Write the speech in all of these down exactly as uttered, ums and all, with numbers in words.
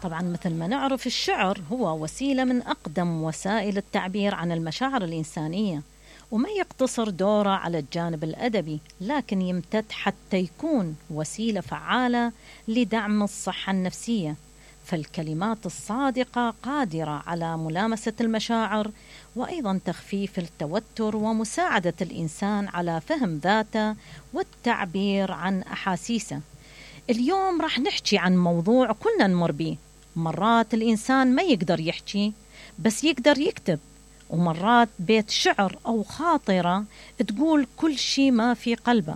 طبعا مثل ما نعرف الشعر هو وسيلة من أقدم وسائل التعبير عن المشاعر الإنسانية، وما يقتصر دوره على الجانب الأدبي، لكن يمتد حتى يكون وسيلة فعالة لدعم الصحة النفسية. فالكلمات الصادقة قادرة على ملامسة المشاعر، وأيضا تخفيف التوتر ومساعدة الإنسان على فهم ذاته والتعبير عن أحاسيسه. اليوم راح نحكي عن موضوع كلنا نمر بيه. مرات الإنسان ما يقدر يحكي بس يقدر يكتب، ومرات بيت شعر أو خاطرة تقول كل شيء ما في قلبه.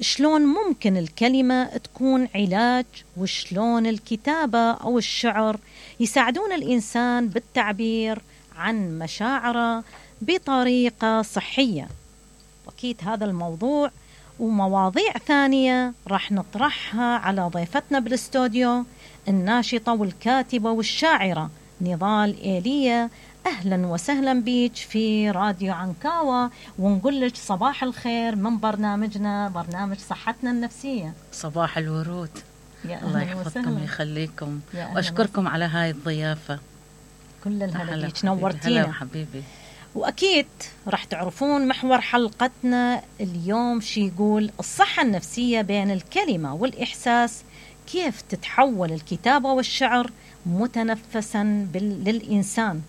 شلون ممكن الكلمة تكون علاج، وشلون الكتابة أو الشعر يساعدون الإنسان بالتعبير عن مشاعره بطريقة صحية؟ أكيد هذا الموضوع ومواضيع ثانية راح نطرحها على ضيفتنا بالاستوديو الناشطة والكاتبة والشاعرة نضال إيليا. أهلا وسهلا بيك في راديو عنكاوة، ونقول لك صباح الخير من برنامجنا برنامج صحتنا النفسية. صباح الورود. الله يحفظكم ويخليكم، وأشكركم على هاي الضيافة. كل الهلا بيك، نورتينا. هلا حبيبي. وأكيد راح تعرفون محور حلقتنا اليوم شي يقول الصحة النفسية بين الكلمة والإحساس، كيف تتحول الكتابة والشعر متنفسا للإنسان.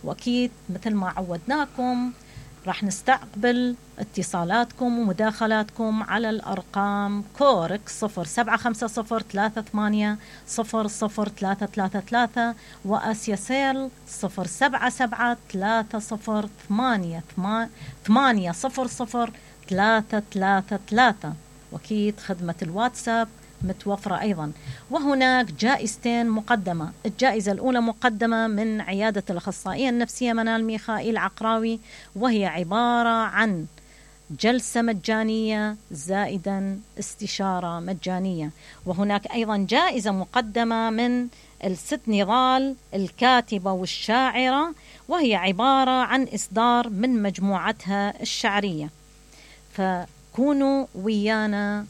وأكيد مثل ما عودناكم راح نستقبل اتصالاتكم ومداخلاتكم على الأرقام كورك صفر سبعة خمسة صفر ثلاثة ثمانية صفر صفر ثلاثة ثلاثة ثلاثة، وأسيسيل صفر سبعة سبعة ثلاثة صفر ثمانية ثمانية صفر صفر ثلاثة ثلاثة ثلاثة. وأكيد خدمة الواتساب متوفرة أيضا. وهناك جائزتين مقدمة. الجائزة الأولى مقدمة من عيادة الأخصائية النفسية منال ميخائيل عقراوي، وهي عبارة عن جلسة مجانية زائدا استشارة مجانية. وهناك أيضا جائزة مقدمة من الست نضال الكاتبة والشاعرة، وهي عبارة عن إصدار من مجموعتها الشعرية. فكونوا ويانا